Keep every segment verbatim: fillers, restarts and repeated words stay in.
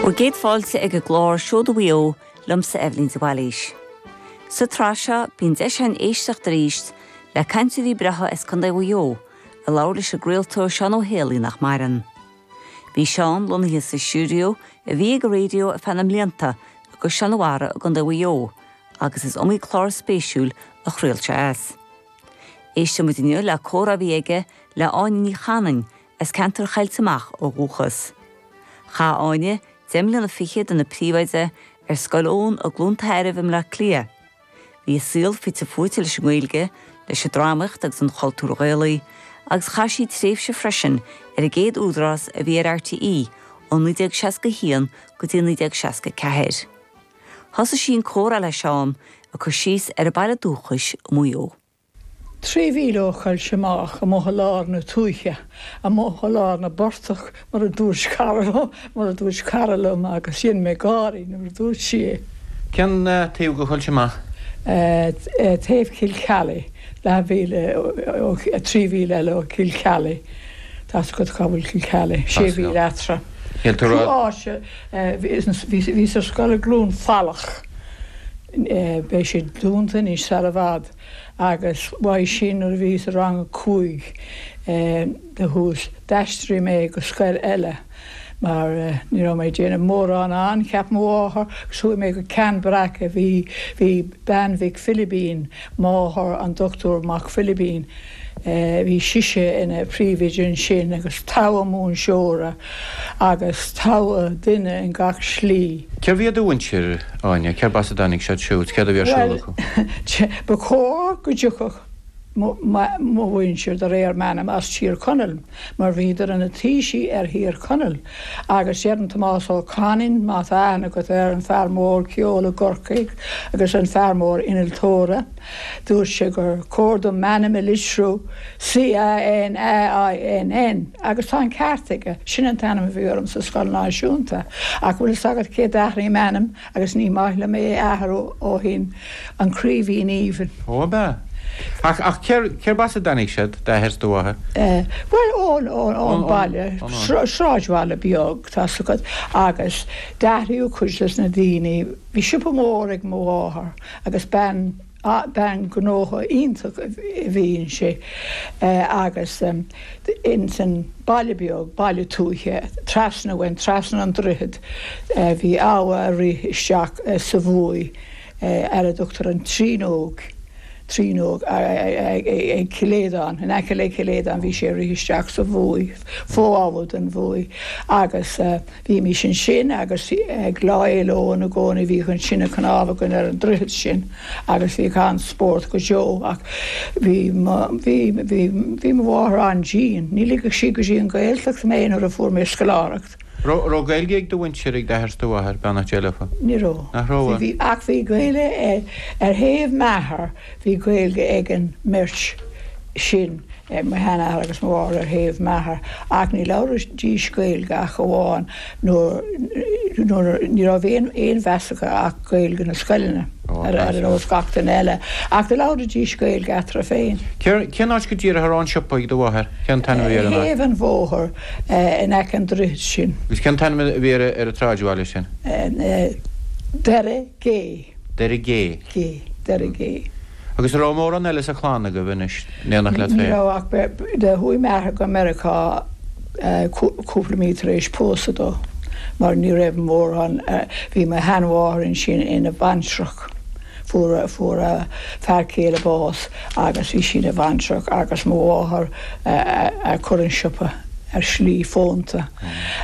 Bhur gcéad fáilte ag an gclár Seoda Mhaigh Eo liomsa Eibhlín de Bhailís. Sa tsraith seo bíonn deis againn éisteacht arís le cainteoirí breátha as Contae Mhaigh Eo a labhair leis an gcraoltóir Seán Ó Héalaí nach maireann. Bhí Seán lonnaithe sa stiúideo a bhí ag an raidió ar feadh na mblianta i gCaisleán an Bharraigh i gContae Mhaigh Eo, agus is iomaí clár spéisiúil a chraol sé as. Éistfimid inniu le comhrá a bhí aige le Áine Ní Chanainn as ceantar Choillte Mach ó dhúchas. Chaith Áine deich mbliana fichead ina príomhoide ar Scoil Eoin i gCluain Tairbh i mBleá Cliath. Bhí a saol fite fuaite leis an nGaeilge, leis an drámaíocht agus an chultúr Ghaelaigh, agus chaith sí tréimhse freisin ar an gcéad údarás a bhí ar RTÉ ó naoi déag seasca haon go dtí naoi déag seasca ceathair. Thosaigh sí an comhrá le Seán ag cur síos ar a baile dúchais Maigh Eo. Trí mhíle ó Choillte Mach amuigh i lár na tuaithe, amuigh i lár na bportach mar a dúirt cara mar a dúirt cara liom agus sin mé gáirí nuair a dúirt sí é. Cén taobh de Choillte Mach? Taobh Chill Cheallaigh leathmhíle trí mhíle eile ó Chill Cheallaigh Tá go cá bhfuil Cill Cheallaigh sé mhíle eatarthu. Áise bhí sa scoil i gCluain Falach beidh sé dúnta anois sar i bhfad agus uaidh sin nuair a bhí sa rang a cúig de thuas d'aistrigh mé go scoil eile mar ní raibh mé déanamh mórán ann cheap mo mháthair agus chuaigh mé go Ceann Breac a bhí bhí bean Mhic Philibín máthair an Dr Mac Philibín bhí sise ina príomhoide ansin agus togha múinteora agus togha duine in gach slí. Cérbh iad do mhuintir Áine, cérb as a dtáinig siad siúd, céard a bhí ar siúl acu? Ba chóir go dtiocfadh mo mhuintir de réir m'ainm as Tír Chonaill, mar bhíodar ina taoisigh ar Thír Chonaill, agus deireann Tomás Ó Canainn má tá aithne agat air an fear mór ceoil i gCorcaigh agus an fear mór innealtóra, dúirt sé gur chóir dom m'ainm a litriú C A N A I N N agus tá an ceart aige, sin an t-ainm a bhí orm sa scoil náisiúnta, ach bhfuil fhios agat cé d'athraigh m'ainm agus ní maith liom é a athrú ó shin an Craoibhín Aoibhinn. Ó ab ea? Ach ach cérb as a dtáinig siad d'athair is do mháthair? Bhuel ón ón baile sráidbhaile beag tá fhios agat agus d'athraíodh cuid des na daoine bhí siopa mór ag mo mháthair agus bean bean gnótha iontach a bhí inti agus in san baile beag baile tuaithe trasna uainn trasna an droichead bhí abha ag rith isteach sa Bhuaidh ar a dtugtar an Tríonóg Tríonóg ag Cill Aodáin in aice le Cill Aodáin bhí sé rith isteach sa Bhuaidh fo-abha den Bhuaidh agus bhímis ansin agus ag Lá Fhéile Eoin i gcónaí bhíodh an tine cnámh againn ar an droichead sin agus bhíodh an-spórt go deo ach bhí bhí bhí bhí mo mháthair an-dian ní ligfeadh sí go dtí an Ghaeltacht mé nuair a fuair mé scoláireacht. Raibh Gaeilge ag do mhuintir ag d'athair is do mháthair beannacht Dé leofa? Ní raibh. Nach raibh? Bhí ach bhí Gaeilge ar thaobh m'athar bhí Gaeilge ag an mbeirt sin mo sheanathair agus mo mháthair ar thaobh m'athar ach ní labhraídís Gaeilge ach amháin nuair nuair ní raibh aon aon mheas acu ach Gaeilge na scoileanna ar ar nós gach duine eile ach do labhraídís Gaeilge eatarthu féin. Cén áit go díreach a raibh an siopa ag do mháthair? Cén t-ainm a bhí ar an áit? Thaobh an bhóthair in aice an droichid sin. Agus cén t-ainm a bhí ar ar an tsráidbhaile sin? Doire Gé. Doire Gé. Gé, Doire Gé. Agus an raibh mórán eile sa chlann agaibh anois in éineacht leat Ní féin? raibh ach de chuaigh m'athair go Meiriceá cúpla mí tar éis pósadh dó mar ní raibh mórán bhí mo sheanmháthair ansin ina baintreach fuair fuair a fear céile bás agus bhí sí ina baintreach agus mo mháthair a chur an siopa ar shlí fónta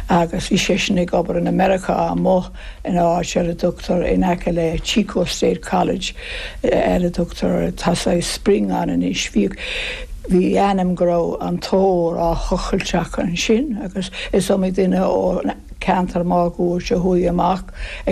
agus bhí seisean ag obair in America amuigh in áit ar a dtugtar in aice le Chico State College ar a dtugtar tá spring ann anois bhí bhí ainm go raibh an t-ór á thochailt ansin agus is iomaí duine ó ceantar máguaird a chuaigh amach ag